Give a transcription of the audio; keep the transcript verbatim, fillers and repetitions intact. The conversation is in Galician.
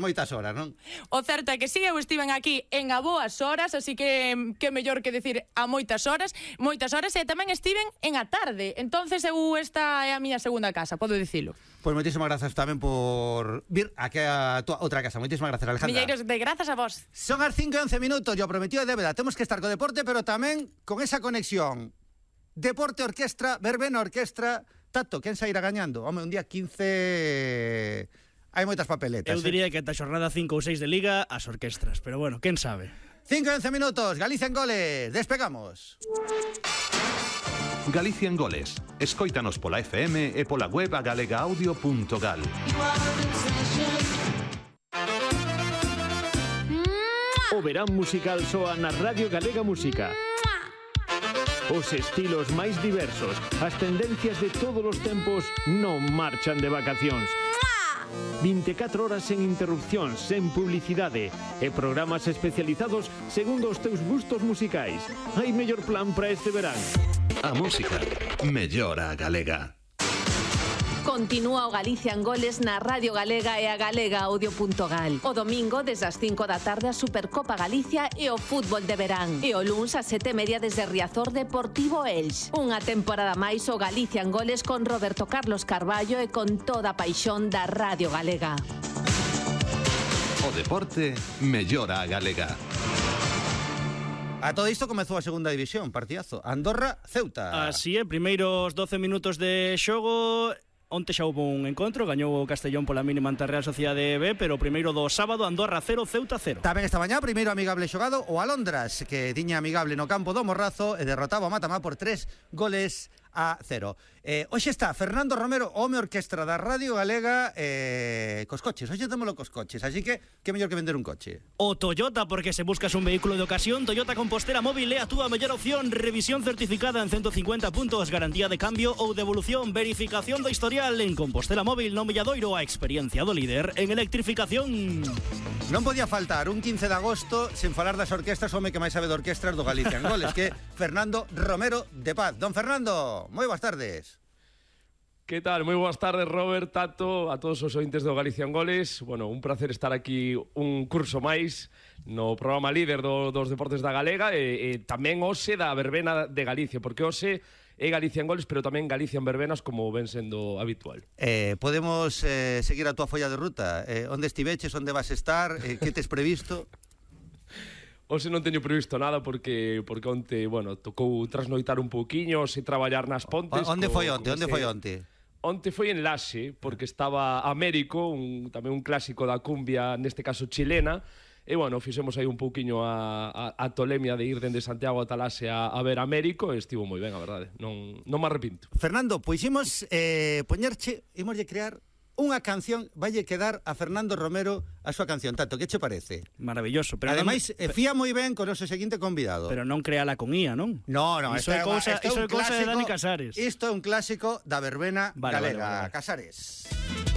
moitas horas, non? O certo é que sí, eu estiven aquí en a boas horas, así que que mellor que decir a moitas horas, moitas horas, e tamén estiven en a tarde. Entonces eu esta é a miña segunda casa, podo dicilo. Pois moitísimas grazas tamén por vir aquí a tua outra casa. Moitísimas grazas, Alejandra. Milleiros de grazas a vos. Son as cinco e once minutos, yo prometido de débeda. Temos que estar co deporte, pero tamén con esa conexión. Deporte, orquestra, verbena, orquestra. Tato, quen sairá gañando? Home, un día quince... Hai moitas papeletas. Eu diría que ata xornada cinco ou seis de Liga as orquestras, pero bueno, quen sabe. cinco e once minutos, Galicia en goles. Despegamos. Galicia en goles. Escóitanos pola F M e pola web a galega audio punto gal. O verán musical soa na Radio Galega Música. Os estilos máis diversos, as tendencias de todos os tempos non marchan de vacacións. vinte e catro horas sen interrupcións, sen publicidade e programas especializados segundo os teus gustos musicais. Hai mellor plan para este verán. A música mellora a galega. Continúa o Galicia en goles na Radio Galega e a galega audio punto gal. O domingo, desde as cinco da tarde, a Supercopa Galicia e o fútbol de verán. E o luns, a sete e media, desde Riazor Deportivo Elx. Unha temporada máis o Galicia en goles con Roberto Carlos Carballo e con toda a paixón da Radio Galega. O deporte mellora a galega. A todo isto comezou a segunda división, partidazo. Andorra, Ceuta. Así é, primeiros doce minutos de xogo. Onte xa houve un encontro, gañou o Castellón pola mínima ante a Real Sociedade B, pero o primeiro do sábado, Andorra cero, Ceuta cero. Tamén esta mañá, primeiro amigable xogado o Alondras, que tiña amigable no campo do Morrazo e derrotaba o Matamá por tres goles a cero. Eh, hoxe está Fernando Romero, home orquestra da Radio Galega, eh, cos coches. Hoxe témolo cos coches, así que que mellor que vender un coche. O Toyota, porque se buscas un vehículo de ocasión, Toyota Compostela Móvil é a túa mellor opción. Revisión certificada en ciento cincuenta puntos, garantía de cambio ou devolución, verificación do historial en Compostela Móvil no Milladoiro, a experiencia do líder en electrificación. Non podía faltar un quince de agosto sen falar das orquestras, home que máis sabe de orquestras do Galicia en goles, que Fernando Romero de Paz. Don Fernando, moi boas tardes. Que tal? Moi boas tardes, Robert, Tato, a todos os ointes do Galicia en Goles. Bueno, un placer estar aquí un curso máis no programa líder do, dos deportes da Galega e, e tamén hoxe da verbena de Galicia, porque hoxe é Galicia en Goles, pero tamén Galicia en verbenas, como ven sendo habitual. Eh, podemos eh, seguir a túa folla de ruta? Eh, onde estiveches, onde vas estar, eh, que tes previsto? Hoxe non teño previsto nada porque porque onte, bueno, tocou trasnoitar un pouquiño, se traballar nas Pontes. O, onde co, foi onte? Onde ese... foi onte? Onte foi en Laxe, porque estaba Américo, un, tamén un clásico da cumbia, neste caso chilena, e, bueno, fixemos aí un pouquiño a, a, a tolemia de ir dende Santiago ata Laxe a, a ver Américo, e estivo moi ben, a verdade, non, non me arrepinto. Fernando, pois imos eh, poñerche, imos de crear unha canción, valle quedar a Fernando Romero a súa canción. Tato, que che parece? Maravilloso. Pero ademais, non, fía moi ben con o noso seguinte convidado. Pero non creala con I A, non? No, no, iso é cousa, iso é cousa de Dani Casares. Isto é un clásico da verbena vale, galega. Vale, vale, vale. Casares.